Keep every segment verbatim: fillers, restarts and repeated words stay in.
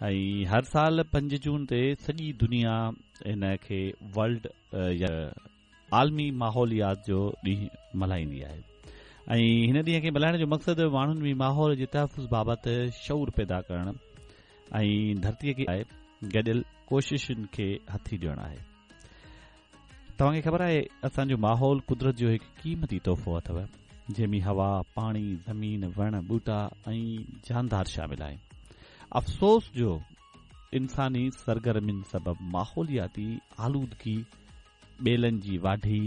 ۽ هر سال پنج جون تي سڄي دنيا ان کي ورلڊ يا عالمي ماحوليات جو ڏينهن ملهائيندي آهي ۽ هن ڏينهن کي ملهائڻ جو مقصد ماڻهن ۾ ماحول جي تحفظ بابت شعور پيدا ڪرڻ ۽ ڌرتيء کي گڏيل ڪوششن کي هٿي ڏيڻ آهي. توهان کي خبر آهي اسان جو ماحول قدرت جو هڪ قيمتي تحفو اٿو، جنهن ۾ هوا، پاڻي، زمين، وڻ، ٻوٽا ۽ جاندار شامل آهن. افسوس جو انساني سرگرمين سبب ماحولياتي آلودگي، ٻيلن جي واڍي،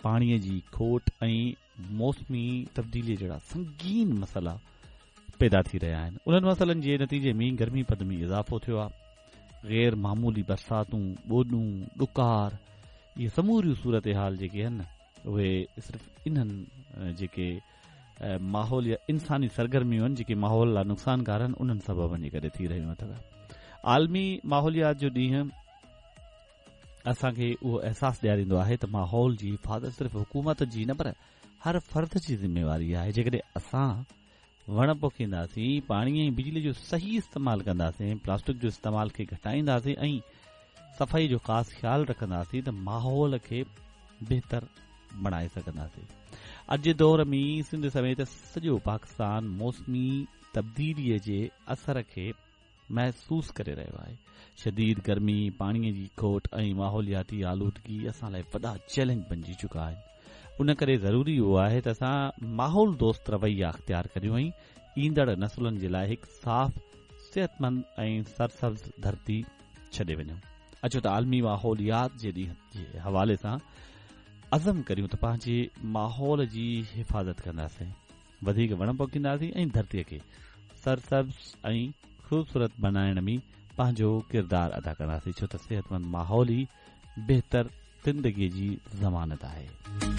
پاڻيء جي کوٽ ۽ موسمي تبديليء جهڙا سنگين مسئلا پيدا ٿي رهيا آهن. انهن مسئلن جي نتيجي ۾ گرمي پد ۾ اضافو ٿيو آهي. غير معمولي برساتون، ٻوڏون، ڏڪار، اهي سموريون صورتحال جيڪي آهن اهي صرف انهن جيڪي ماحول يا انساني سرگرميون آهن جيڪي ماحول لاء نقصانڪار آهن انهن سببن جي ڪري ٿي رهيون اٿو. عالمي ماحوليات جو ڏينهن اسان کي اهو احساس ڏياريندو آهي ته ماحول جي حفاظت صرف حڪومت جي نه پر هر فرد جي ذميواري آهي. جيڪڏهن اسان وڻ پوکينداسين، پاڻي ۽ بجلي جو صحيح استعمال ڪنداسين، پلاسٽڪ جو استعمال کي گهٽائينداسين ۽ صفائي جو خاص خيال رکنداسين ته ماحول کي بهتر بڻائي سگهنداسين. اڄ جي دور ۾ سنڌ سميت سڄو پاڪستان موسمي تبديليء جي اثر کي محسوس ڪري رهيو آهي. شديد گرمي، پاڻيء جي کوٽ ۽ ماحولياتي آلودگي اسان لاء وڏا چئلينج بنجي چڪا آهن. ان ڪري ضروري اهو آهي ته اسان ماحول دوست رويا اختيار ڪريون ۽ ايندڙ نسلن جي لاء هڪ صاف، صحتمند ۽ سرسبز ڌرتي ڇڏي وڃون. اچو ته عالمي ماحوليات جي ڏينهن جي حوالي سان عزم ڪريون ته پنهنجي ماحول جي حفاظت ڪنداسين، وڌيڪ وڻ پوکينداسين ۽ ڌرتيء کي سرسبز ۽ خوبصورت بنائڻ ۾ پنهنجو ڪردار ادا ڪنداسين، ڇو ته صحتمند ماحول ئي بهتر زندگيء جي ضمانت آهي.